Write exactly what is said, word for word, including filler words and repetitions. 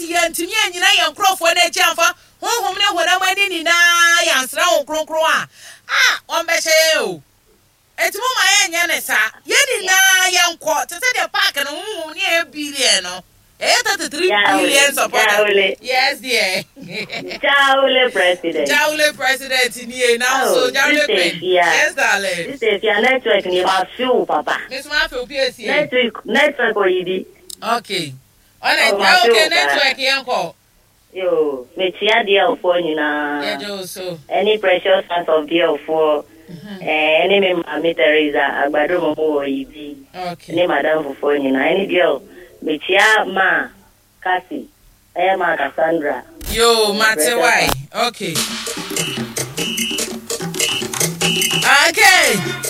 Sɛ yɛntumi anyina yɛn nkurɔfoɔ no akyi amfa honhom ne honam ani nyinaa yɛansra Honhom Kronkron a, a ɔmbɛhyɛ yɛn o. Enti momma yɛnyɛ no saa. Yɛn nyinaa yɛnkɔ, te sɛ deɛ park no honhom ne yɛyɛ billion no. Yɛyɛ thirty three billion supporters. Yes dear. Jawule president. Jawule president nie na oh, so Jawule queen. Yes, darling. Sister Fia, network ni ma feel papa. Miss ma feel P S C. Network network oyibi. Okay. Ɔna oh, okay, network yɛn kɔ. Yo, mekyia D L foɔ nyinaa. Yɛgye wo so. Ɛne Precious Sons of D L foɔ. Ɛne me maame Teresa Agbado mo wɔ Yibi. Okay. Ne madam fofoɔ nyinaa. Ɛne D L mekyia ma Kasi. Ɛyɛ ma Cassandra. Yo, mate why. Okay. Okay.